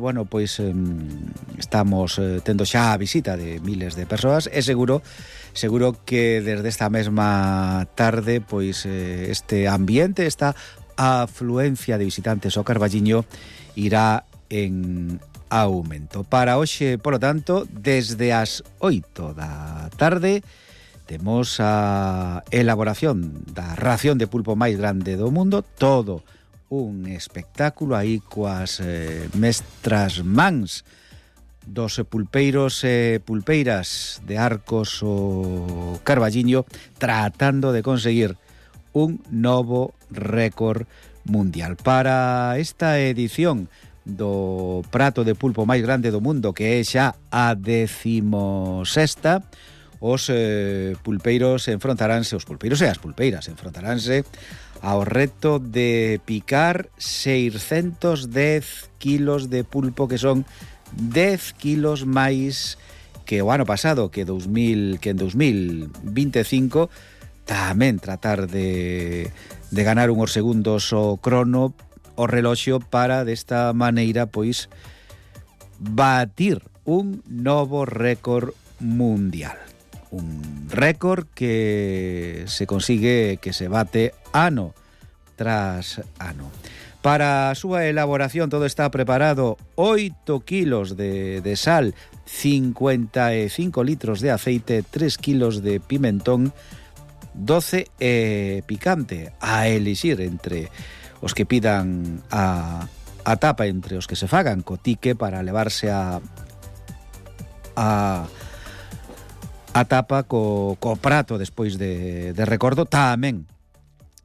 Bueno, pois estamos tendo xa a visita de miles de persoas e seguro que desde esta mesma tarde pois este ambiente, esta afluencia de visitantes ao Carballiño irá en aumento. Para hoxe, polo tanto, desde as 8 da tarde temos a elaboración da ración de pulpo máis grande do mundo, todo un espectáculo aí coas mestras mans dos pulpeiros e pulpeiras de Arcos o Carballiño tratando de conseguir un novo récord mundial. Para esta edición do prato de pulpo máis grande do mundo, que é xa a 16ª, os pulpeiros enfrontaránse, os pulpeiros e as pulpeiras enfrontaránse ao reto de picar 610 kilos de pulpo, que son 10 kilos máis que o ano pasado, que en 2025, tamén tratar de ganar unhos segundos o crono, o reloxo, para desta maneira pois batir un novo récord mundial. Un récord que se consigue, que se bate ano tras ano. Para a súa elaboración todo está preparado: 8 kilos de sal, 55 litros de aceite, 3 kilos de pimentón, 12 picante, a elixir entre os que pidan a tapa, entre os que se fagan cotique para levarse a tapa co prato despois de recordo. Tamén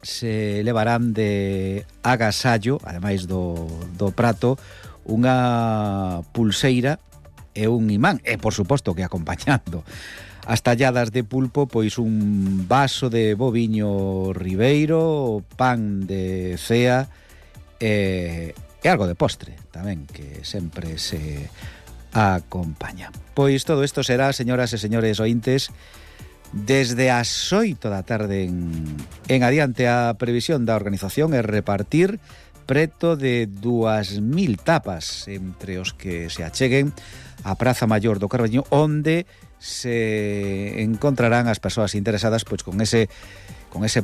se levarán de agasallo, ademais do prato, unha pulseira e un imán, e por suposto que acompañando as talladas de pulpo, pois un vaso de boviño ribeiro, pan de cea e algo de postre tamén, que sempre se acompaña. Pois todo isto será, señoras e señores ointes, desde as 8 da tarde en adiante. A previsión da organización é repartir preto de 2.000 tapas entre os que se acheguen á Praza Maior do Carballiño, onde se encontrarán as persoas interesadas pois con ese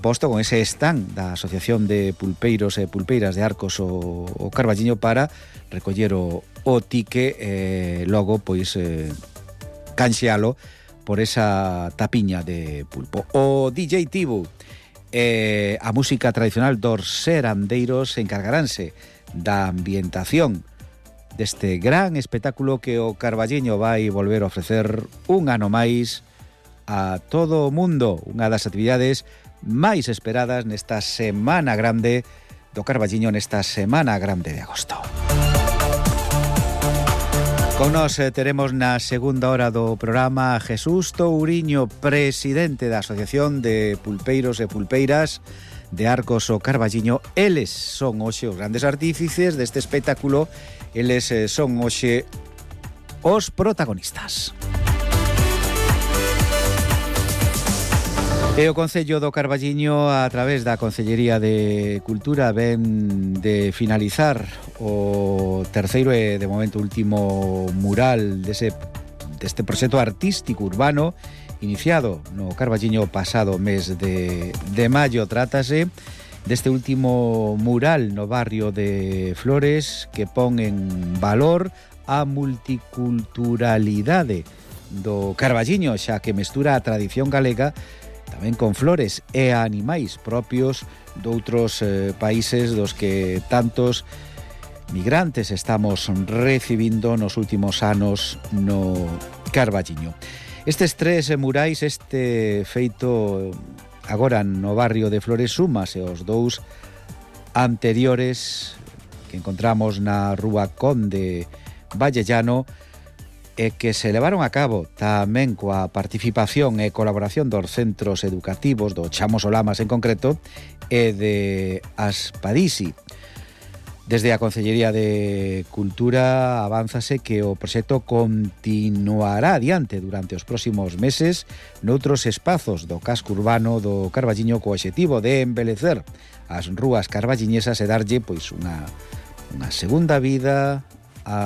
posto, con ese stand da Asociación de Pulpeiros e Pulpeiras de Arcos o Carballiño, para recoller o tique e logo pois canxealo por esa tapiña de pulpo. O DJ Tibu e a música tradicional dos serandeiros encargaránse da ambientación deste gran espectáculo que o Carballiño vai volver a ofrecer un ano máis a todo o mundo, unha das actividades máis esperadas nesta Semana Grande do Carballiño, nesta Semana Grande de agosto. Con nos teremos na segunda hora do programa a Jesús Touriño, presidente da Asociación de Pulpeiros e Pulpeiras de Arcos o Carballiño. Eles son hoxe os grandes artífices deste espectáculo, eles son hoxe os protagonistas. E o Concello do Carballiño, a través da Concellería de Cultura, ven de finalizar o terceiro e de momento último mural deste proxecto artístico urbano iniciado no Carballiño pasado mes de maio. Trátase deste último mural no barrio de Flores, que pon en valor a multiculturalidade do Carballiño, xa que mestura a tradición galega tamén con flores e animais propios doutros países dos que tantos migrantes estamos recibindo nos últimos anos no Carballiño. Estes tres murais, este feito agora no barrio de Flores, súmase aos dous anteriores que encontramos na Rúa Conde Vallellano, e que se levaron a cabo tamén coa participación e colaboración dos centros educativos do Chamos o Lamas en concreto e de Aspadisi. Desde a Concellería de Cultura avánzase que o proxecto continuará adiante durante os próximos meses noutros espazos do casco urbano do Carballiño, co obxectivo de embelecer as rúas carballiñesas e darlle pois unha segunda vida